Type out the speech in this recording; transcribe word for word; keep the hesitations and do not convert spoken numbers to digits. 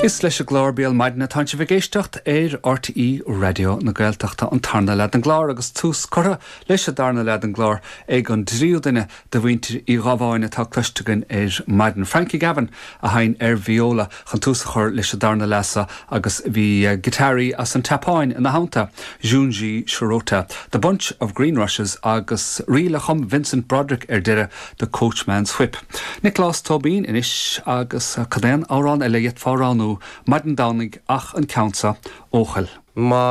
Is leis an gclár Béal Maidine atá sibh ag éisteacht ar RTÉ Raidió na Gaeltachta an tarna leath den gclár agus tús curtha leis an darna leath den gclár ag an dtríú duine de mhuintir Uí Ghabháin atá cloiste againn ar maidin. Frankie Gavin a sheinn ar viola chun tús a chur leis an darna leath agus bhí giotáraí as an tSeapáin ina theannta, Junji Shirota, The Bunch of Green Rushes agus ríl a chum Vincent Broderick ar deireadh The Coachman's Whip. Nioclás Tóibín anois agus cad é an amhrán eile a d'fhéadfá roghnú maidin Domhnaigh ach an ceann seo Eochaill. Má